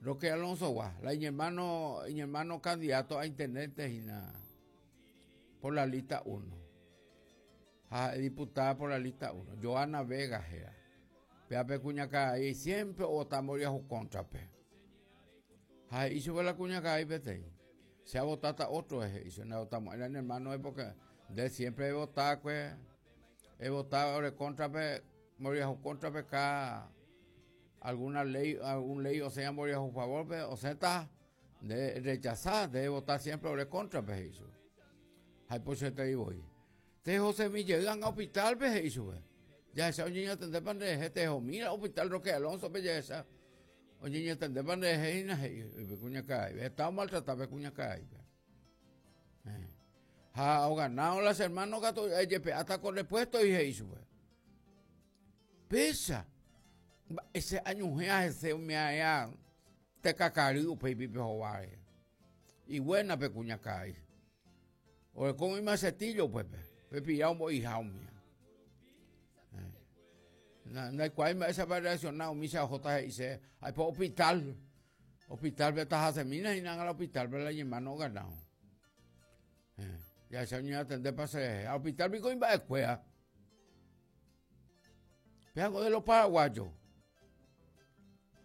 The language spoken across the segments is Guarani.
Roque Alonso-gua, la iñermano, iñermano candidato a intendente hína por la lista 1. Ha ha'e diputada por la lista 1. Joana Vega héra. Péa pe kuñakarai siempre ovota mboriahu cóntrape. Ha he'i chupe la kuñakarai peteĩ, che avotáta otro he'i chupe, ndavotamo'ãi la ne hermano porque nde siempre evotákue, evota ore cóntrape, mboriahu cóntrape cada alguna ley, algún ley osẽva mboriahu favorpe, osẽta nde rechasa, nde evota siempre ore cóntrape he'i chupe. Ha ipochyeterei voi. Tehosemi jey anga hospital-pe, he'i chupe. Jahecha oñeñatendépa nderehe, tehomíra hospital Roque Alonso-pe jahecha oñeñatendépa nderehe hína, he'i pe kuñakaraípe. Heta omaltrata pe kuñakaraípe. Eh. Ha oganao las hermano katu ejepe'áta ko repuesto y he'i chupe. Péicha, mba'éicha añuhẽ hese umi aea tekakary upéipi pe hováre. Iguéna pe kuñakarai. Oreko umi machetillo upépe, pe pira ombo'iha umía. Eh. Ndaikuaái mba'éichapa reacciona umícha ohóta he'i che, aipo hospital, hospital-pe tahasemína hína ág̃a la hospital-pe la iñermano oganao. Eh, jahecha oñeatendépa che rehe. Ha hospital piko imba'ekuéra. Péako de los paraguayos.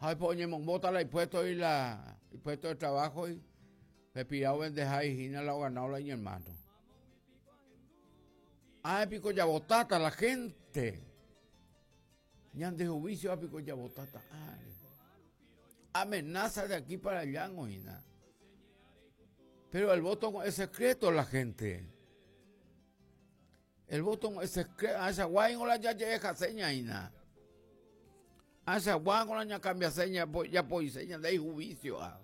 Ha aipo oñemombóta la ipuesto y la ipuesto de trabajo y pe pira ovendeha hína la oganao la iñermano. Ah, piko javotáta la gente. Ñande juicio piko javotáta. Amenaza de aquí para allá, hína. Pero el voto es secreto la gente. El voto es secreto. Achaguá ingo la jaje'ehase ñaína. Achaguá la ñacambiase japoise ñande ijuicio. Ah.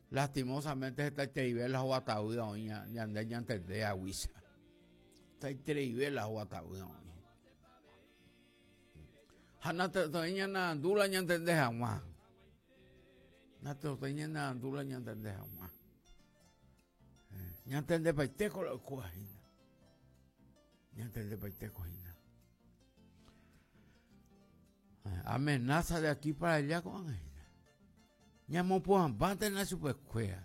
Lastimosamente hetaitereive la hovatavy oĩ ñande ñantende haguicha. Hetaitereive la hovatavy oĩ. Ha natekotevẽi ñanearandu la ñantende hag̃ua. Natekotevẽi ñanearandu la ñantende hag̃ua. Ñantendepaitéko la oikóva hína. Ñantendepaitéko hína. Amenaza de aquí para allá ko'ág̃a hína. Ñamopu'ãmbántena chupekuéra.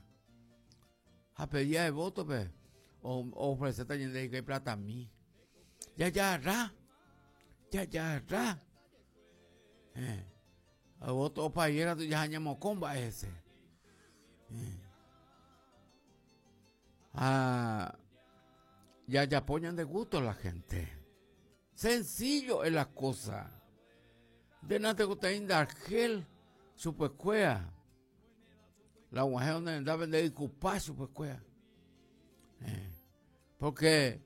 Ha pe día de voto-pe oofreséta ñande hikuái platami. Jajagarra. Jajagarra. Eh. Voto opaye katu jaha ñamokõ mba'e hese. Eh. Ha jajapo ñande gusto la gente. Sencillo es la cosa. Nde natekotevẽi nde argel chupekuéra. La og̃uahẽ donde rendápe nde ykupa chupekuéra. Eh. Porque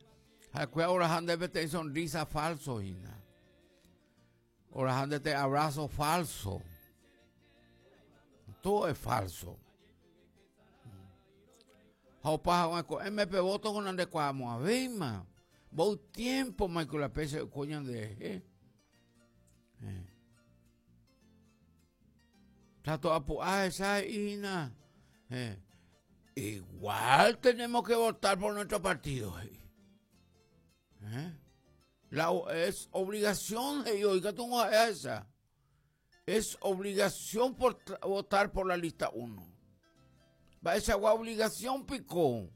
ha'ekuéra oraha nde peteĩ sonrisa falso hína. Oraha nde te abrazo falso. Todo es falso. Ha opa haguã ko'ẽme pe voto ko nandekuaamo'ãvéima. Mboy tiempo maiko la péicha oiko ñanderehe. Eh. Trato apu'a hesa he'i hína. Eh. Igual tenemos que votar por nuestro partido. He'i. Eh. La, es obligación, he'i, oiga tú no esa. Es obligación por votar por la lista 1. Mba'eichagua obligación piko.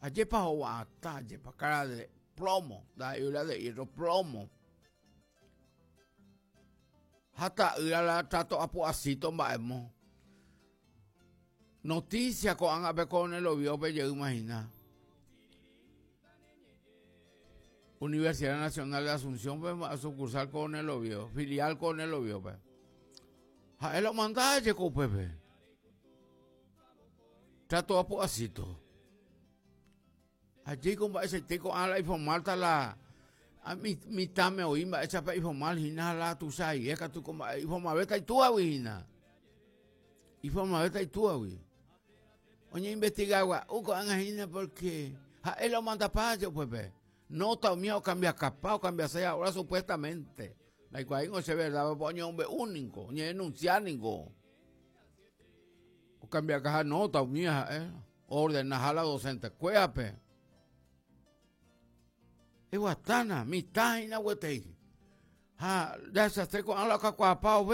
Ajépa hova'atã, ajépa cara de plomo, ndaha'éi la de hierro, plomo. Ha ta'ýra la trato apu'asíto mba'emo. Noticia ko'ág̃a pe Coronel Oviedo-pe jeýma hína. Universidad Nacional de Asunción-pe, sucursal Coronel Oviedo, filial Coronel Oviedo-pe. Ha'e la omanda jeko upépe. Trato apu'asíto. Ajéiko mba'eichaite ko'ã la iformálta la mitãme oĩ mba'éichapa iformal hína ha la tuichaite katu ko mba'e iformavéta itúagui hína. Iformavéta itúagui. Oñeinvestiga gua'u ko'ág̃a hína porque ha'e la omandapa je upépe. Nota umía okambiakapa, okambiase ahora supuestamente. Ndaikuaáingo che verdad, oñemombe'u ningo, oñedenuncia ningo. Okambiakaha nota umía ha'e. Oordenaha la docente-kuérape. Eguatána, mitã hína gueteri. Ha jahechase ko'ã la okakuaapa ove.